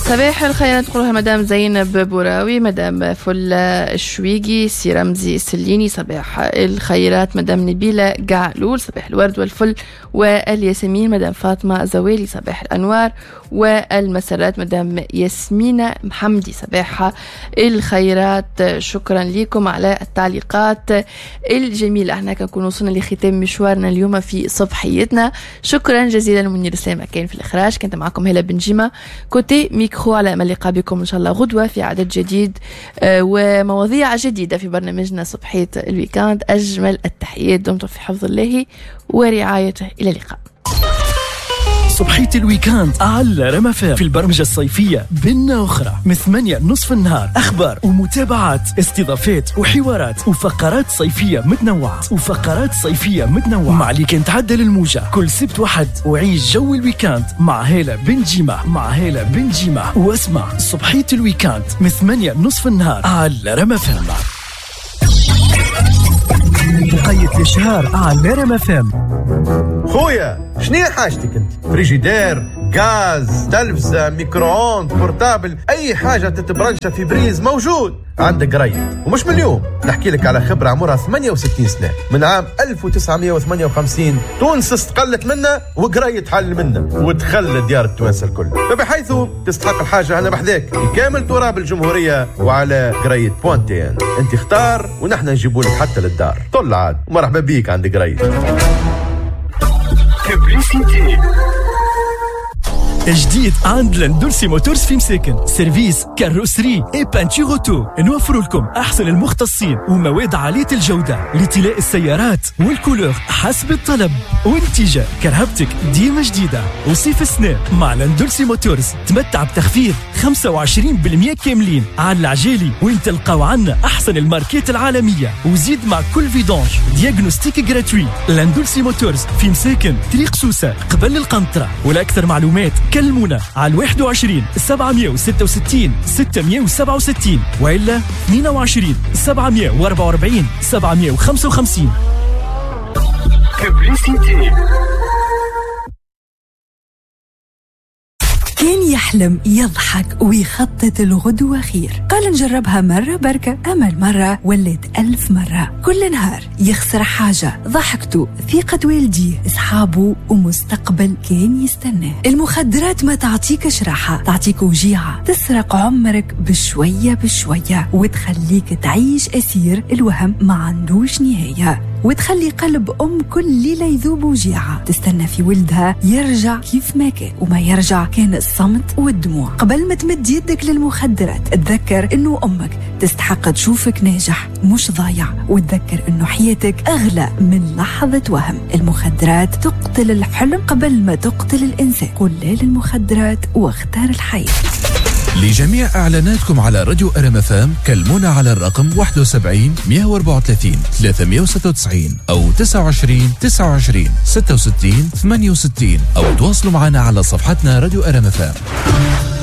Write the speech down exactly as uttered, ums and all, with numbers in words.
صباح الخيرات نقولها مدام زينب بوراوي، مدام فلة الشويقي، سي رمزي السليني، صباح الخيرات مدام نبيلة قعلول، صباح الورد والفل والياسمين مدام فاطمة زوالي، صباح الأنوار والمسرات مدام ياسمينة محمدي، صباح الخيرات. شكرا لكم على التعليقات الجميلة. احنا كنكون وصلنا لختام مشوارنا اليوم في صبحيتنا. شكرا جزيلا منير سلامة كان في الإخراج، كنت معكم هلا بن جيمة côté micro. على أمل اللقاء بكم إن شاء الله غدوة في عدد جديد ومواضيع جديدة في برنامجنا صبحية ال week-end. أجمل التحيات، دمتم في حفظ الله ورعايته، إلى اللقاء. صبحية ال week-end على رما في البرمجة الصيفية بنا أخرى من ثمانية نصف النهار، أخبار ومتابعات، استضافات وحوارات وفقرات صيفية متنوعة وفقرات صيفية متنوعة مع اللي كان تعدل الموجة كل سبت وحد. وعيش جو ال week-end مع هالة بن جيمة مع هالة بن جيمة واسمع صبحية ال week-end من ثمانية نصف النهار على رما فام. بقية الإشهار على رما فام. خويا شنو حاجتك انت؟ فريجيدير، غاز، تلفزة، micro-ondes، portable، اي حاجة تتبرنشة في prise موجود عندك قريب. ومش من اليوم نحكي لك على خبرة عمرها ثمانية وستين سنة، من عام ألف وتسعمية وثمانية وخمسين تونس استقلت منا وقريت حل منا ودخل ديار التوانسة الكل، فبحيث تستحق الحاجة أنا بحذاك في كامل تراب الجمهورية وعلى قريت point tn. انت اختار ونحن نجيبوا لك حتى للدار. طل عاد ومرحبا بيك عند قريت. جديد عند لندولسي موتورز في مساكن، service carrosserie et peinture auto. نوفر لكم احسن المختصين ومواد عالية الجودة لطلاء السيارات وال couleur حسب الطلب، ونتيجة كرهبتك ديما جديدة. وصيف السنة مع لندولسي موتورز تمتع بتخفيض خمسة وعشرين بالمية كاملين على العجالي، وين تلقاو عنا احسن الماركات العالمية، وزيد مع كل vidange diagnostic gratuit. لندولسي موتورز في مساكن، طريق سوسة قبل القنطرة. ولاكثر معلومات كلمونا على واحد وعشرين سبعمية وستة وستين ستمية وسبعة وستين وإلا اثنين وعشرين سبعمية وأربعة وأربعين سبعمية وخمسة وخمسين. كان يحلم يضحك ويخطط الغدوة خير، قال نجربها مرة بركة، أما المرة ولت ألف مرة. كل نهار يخسر حاجة، ضحكته، ثقة والديه، أصحابه، ومستقبل كان يستناه. المخدرات ما تعطيكش راحة، تعطيك وجيعة، تسرق عمرك بشوية بشوية وتخليك تعيش أسير الوهم ما عندوش نهاية، وتخلي قلب أم كل ليلة يذوب وجيعة، تستنى في ولدها يرجع كيف ما كان، وما يرجع كان الصمت والدموع. قبل ما تمد يدك للمخدرات تذكر إنه أمك تستحق تشوفك ناجح مش ضايع، وتذكر إنه حياتك أغلى من لحظة وهم. المخدرات تقتل الحلم قبل ما تقتل الإنسان. قل لا للمخدرات واختار الحياة. لجميع إعلاناتكم على راديو أر إم إف إم كلمونا على الرقم واحد وسبعين مية وأربعة وثلاثين ثلاثمية وستة وتسعين أو تسعة وعشرين تسعة وعشرين ستة وستين ثمانية وستين، أو تواصلوا معنا على صفحتنا راديو أر إم إف إم.